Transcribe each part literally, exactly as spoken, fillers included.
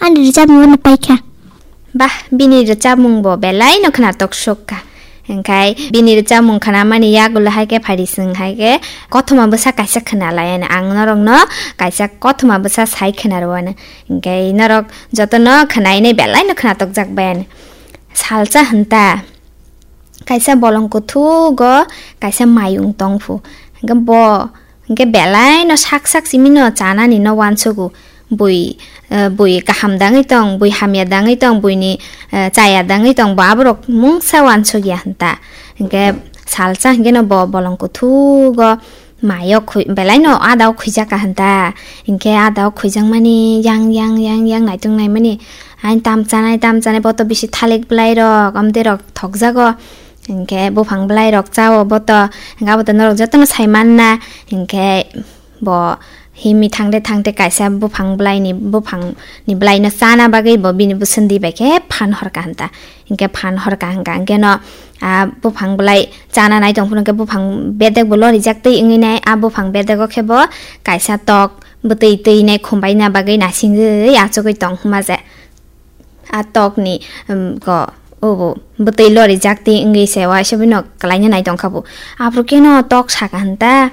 Ani rwchapmung no paikha. Bah, bini rwchapmung bo belai no khwnatok sok kha. Hingkhai bini rwchapmung khwnamani yagulo hai khe phaidi, chwng hai khe kothoma bwsa kaisa khwna lai ano. Ang norokno kaisa kothoma bwsa sai khwna rw ano. Hingkhai norok jotono khwnainai belai no khwnatok jak bai ano. Salsa hwn ta. Kaisa bolong kuthugo kaisa mayung tongphu. Hingkhe bo hingkhe belai no sak sak simi no chanani no wansugo. Bui, eh, bui kaham dangwi tong, bui hamya dangwi tong, buini, eh, chaya dangwi tong, bo aborok mungsa wansukya hwn ta. Hingkhe salsa hingkhe no bo bolong kuthugo mayo khui-, belai no ada o khuijak ka hwn ta. Hingkhe ada o khuijak mani yang, yang, yang, yang naitung naimani. Ain tam chanai, tam chanai, boto bisi thalik bwlai rok, amtwi rok thokjago. Hingkhe buphang bwlai rok chao boto, hingkhe aboto norok jotono sai manna. Hingkhe bo himi thangte thangte kaisa buphang bwlaini, buphang ni bwlaino chana bagwi bo bini bwswndi bai khe phan horka hwn ta. Hingkhe phan horka hingka hingkhe no, ah, buphang bwlai chana nai tong phuru hingkhe buphang bedek bo lorijak twi wngwi nai. Ah, buphang bedego khe bo kaisa tok bwtwi twi nai khumbai na bagwi nasingwi achugwi tong hwnma je. Ah, tokni, um, go, obo bwtwi lorijak twi wngwi se waisa bino kwlaina nai tongkha bo. Aphuru khe no tok saka hwn ta,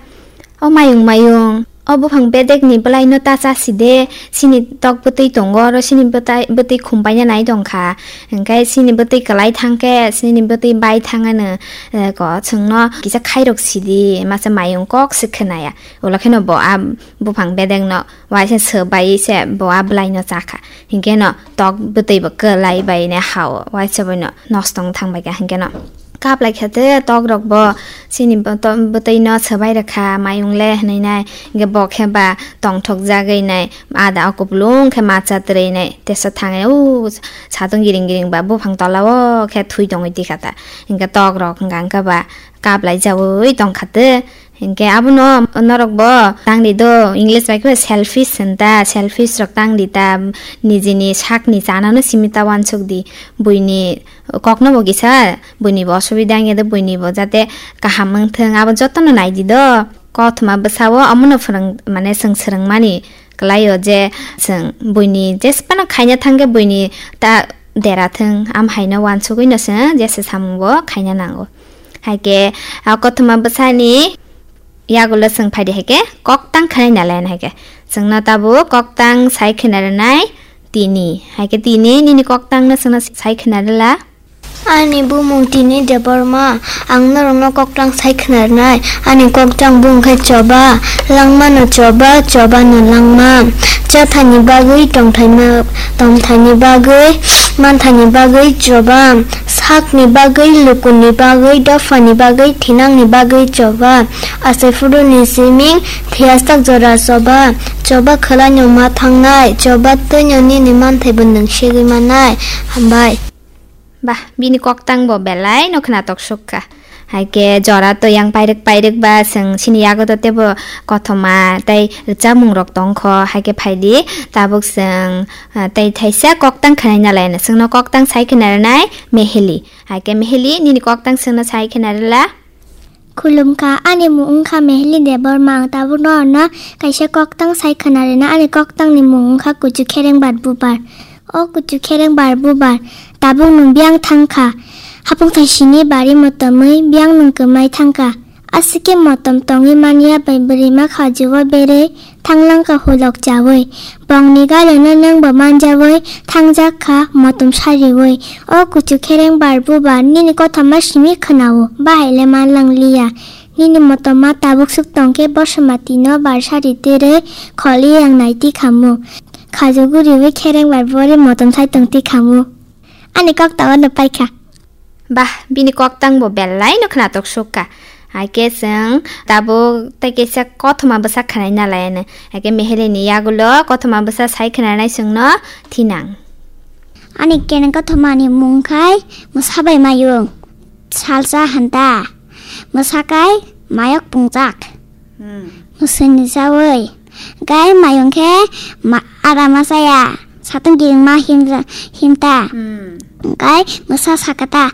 "O mayung, mayung, o buphang bedekni bwlaino ta chasi de, sini tok bwtwi tongo, oro sini bwtai-, bwtwi khum paina nai tongkha. Hingkhe sini bwtwi kwlai thangkhe, sini bwtwi bai thang ano, eh, go, chwngno kisa khairok sidi," masa mayung kok se khwnaya. Ulo kheno bo a buphang bedekno waisa swbai se bo a bwlaino chakha. Hinkhe no tok bwtwi bo kwlai bai ne hao, waisa bai no nosto wng thang bai kha hinkhe no. Kap lai kha te tok rok bo chini bo to-, bwtwi no swbai rwkha mayung le hinwi nai, hinkhe bo khe ba tongthok jagwi nai, ada o kupulung khe macha twrwi nai, teso thangwi u satung giring giring ba buphang tola o khe thui tongwi tikha ta, hinkhe tok rok hwnka hwnkhe ba kap lai jaui tongkha te. Hinkhe abono norok bo tangdi do, English bai khe selfish hwn ta, selfish rok tangdi ta, nijini sakni chanano simi ta wansuk di, buini kokno bo kisa, buini bo osubida wngya do, buini bo jate kaham wngthung, abo jotono naidi do. Kothoma bwsao omono phwrwng, mane chwng swrwngmani kwlaio je chwng buini jesphano khaina thangkhe buini ta dera thung, am haino wansugwino chwng jesa samung bo khaina nango. Hai khe, a, kothoma bwsani yagulo chwng phaidi hai khe koktang khwnai nalai hai khe. Chwngno tabuk koktang sai khwna rwnai tini. Hai khe tini nini koktangno chwngno sai khwna rwla. Ani bumung tini Debbarma, ang norokno koktang sai khwna rwnai. Ani koktang bung khe choba, langmano choba, chobano langma. Chathani bagwi tongthaima, tongthaini bagwi, manthani bagwi choba. Sakni bagwi, lukurni bagwi, dophani bagwi, thinangni bagwi choba. Asai phuruni siming, thiyajak jora choba. Choba khwlaino ma thangnai, choba twino nini manthaibo nwng segwi mannai. Hambai. Bah, bini koktang bo belai no khwnatok suk kha. Hai khe jora to yang pairwk pairwk ba chwng chini yago to tebo kothoma tei rwchapmung rok tong kho. Hai khe phai di, tabuk chwng, ah, tei thaisa koktang khwnai nalai no. Chwngno koktang sai khwna rwnai Meheli. Hai khe Meheli, nini koktang chwngno sai khwna rwla. Khulumkha, ani mung wngkha Meheli Debbarma, ang tabuk norokno kaisa koktang sai khwna rwna, ani koktangni mung wngkha Kuchu Khereng Bar Bubar. O Kuchu Khereng Bar Bubar, tabuk nwng biyang thangkha, hapung thaisini bari motomwi biyang nwng kwmai thangkha. Aswk khe motom tongwi manya bai bwrwima khajuo berwi thanglangkha hulok chaui. Bongni galeno nwngbo manjaui thangjak kha motom sariui. O Kuchu Khereng Bar Bubar, nini kothoma simi khwnao, bahai le manlang liya. Nini motom ma tabuk swk tong khe Bosomati no bar sari twrwi kholi yang nai tikhamu. Khajuguriui Khereng Bar Bubar motom sai tong tikhamu. Ani kok tabano paikha. Bah, bini koktang bo belai no khwnatok suk kha. Hai khe chwng tabuk tei kaisa kothoma bwsa khwnai nalai ano. Hai khe Mehelini yagulo kothoma bwsa sai khwnanai chwngno thinang. Ani kene kothomani mung khai mwsa bai mayung. Salsa hanta. Mwsa kai mayok pungjak. Hmm. Mwswini chaui. Gai mayung khe ma-, ara ma chaya. Satung giring ma himra-, himta. Hmm. Gai mwsa sakata.